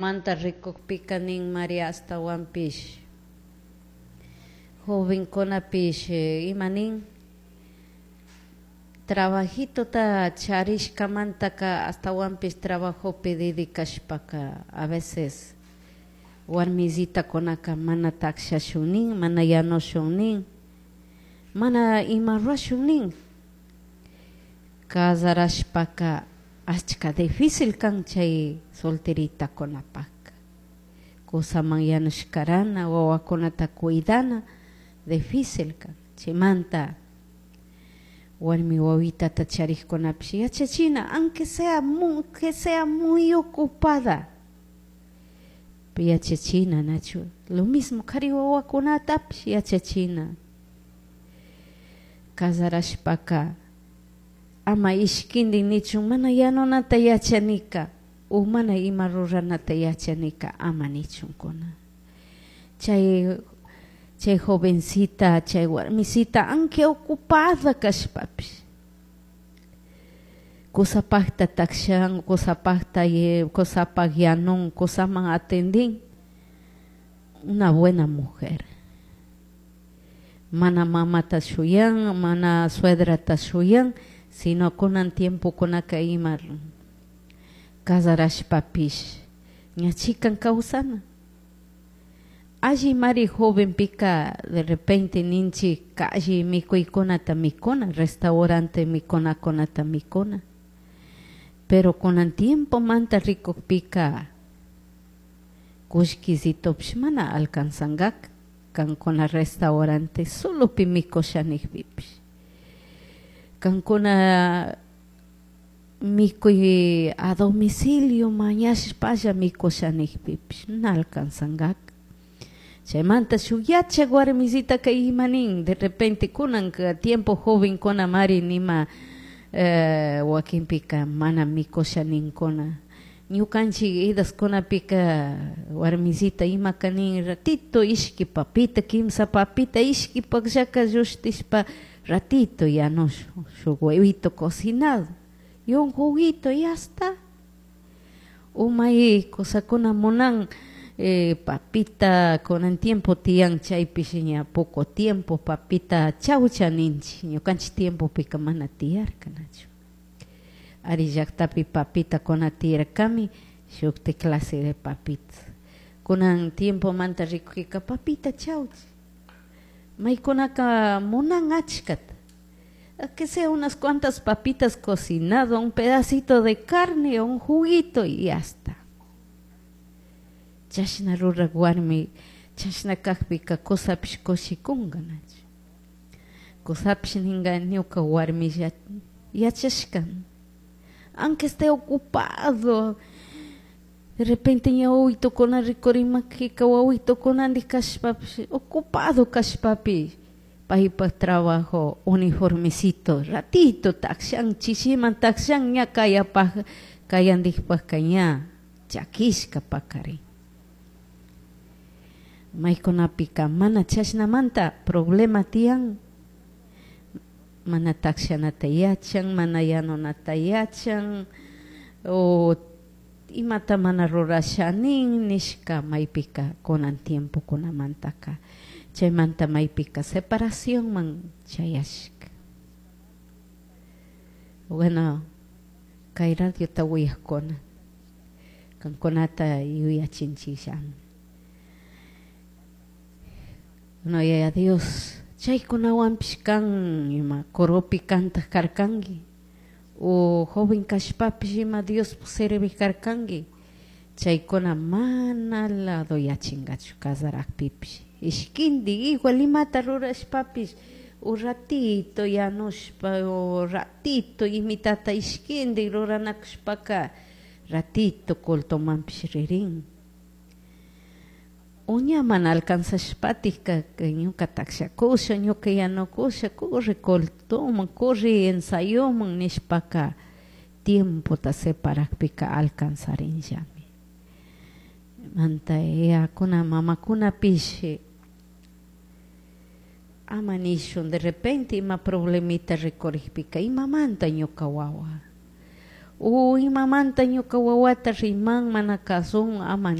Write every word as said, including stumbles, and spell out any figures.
Manta rikukpika nin Maria ashtawanpish jovenkunapish ima nin trabajitota charishkamantaka ashtawanpish trabajopi dedicashpaka a veces warmisitakunaka mana takshashun nin, mana yanushun nin, mana ima rurashun nin. Casarashpaka achka difícil kan chay solteritakunapaka kusaman yanushkarana, wawakunata cuidana difícil kan. Chaymanta warmi wawitata charikkunapish yachachina aunque sea que sea muy ocupada yachachina, nachu lo mismo kari wawakunatapish yachachina. Casarashpaka ama ishkindi nichun mana yanunata yachanika o mana ima ruranata yachanika ama nichunkuna. Chay chay jovencita, chay warmisita aunque ocupada kashpapish kusapakta takshan, kusapakta kusapak yanun, kusaman atendin, una buena mujer. Mana mamata shuyan, mana suedrata shuyan, sino kunan tiempokunaka ima casarashpapish ña chikan kawsana. Alli mari jovenpika de repente ninchik alli mikuykunata mikuna, restaurante mikunakunata mikuna, pero kunan tiempomanta rikukpika kullkisitopish mana alcanzangaka kankuna restaurante solopi mikusha nikpipish. Kankuna mikuy a domicilio mañashpalla mikusha nikpipish na alcanzangaka. Chaymanta shuk yachak warmisitaka ima nin de repente kunanka tiempo jovenkuna mari nima eh, wakinpika mana mikusha ninkuna. Ñukanchik edaskunapika warmisita imaka nin ratito ishki papita, kimsa papita ishki pakllaka llushtishpa ratito yanushun shuk huevito cocinado y un juguito y ya está. Umay cosakuna munan eh, papita kunan tiempo tiyan chaypish ña poco tiempo papita chawcha ninchik ñukanchik tiempopika mana tiyarka, nachu. Ari llaktapi papita kuna tiyarkami shukti clase de papita. Kunan tiempomanta rikukika papita chawcha maykunaka munan achkata, que sea unas cuantas papitas cocinado, un pedacito de carne, un juguito y ya está. Chashna rurak warmi, chashna kakpika kusapish kushikunga, nachu. Kusapish ninga ñuka warmi yachashka, aunque esté ocupado, de repente ña wawitokuna rikurimakika wawitokunandik kashpapish ocupado kashpapish paypak trabajo uniformecito ratito takshan chishiman takshan ña kayapak kayandikpaka ña chakishka pakarin. Maykunapika mana chashnamanta problema tiyan, mana takshanata yachan, mana yanunata yachan o imata mana rurasha nin nishka maypika kunan tiempokunamantaka. Chaymanta maypika separacionman chayashka. Bueno, kay radiota uyakuna kankunata yuyachinchikllami. No, Yaya Dios, chaykunawanpish kan ima coropi kantaj karkanki o joven kashpapish ima Diospuk servik karkanki, chaykuna mana ladoyachinkachu casarakpipish. Ishkindik igual imata rurashpapish o ratito yanushpa o ratito imitata ishkindik ruranakushpaka ratito cultomanpish ririn. O ña mana alcanzashpatika ñuka takshakusha, ñuka yanukusha, corre cultoman, corre ensayoman nishpaka tiempota separakpika alcanzarinllami. Manta yayakuna mamakunapish ama nishun de repente ima problemita rikurikpika imamanta ñuka wawa O imamanta ñuka wawata riman mana kasun ama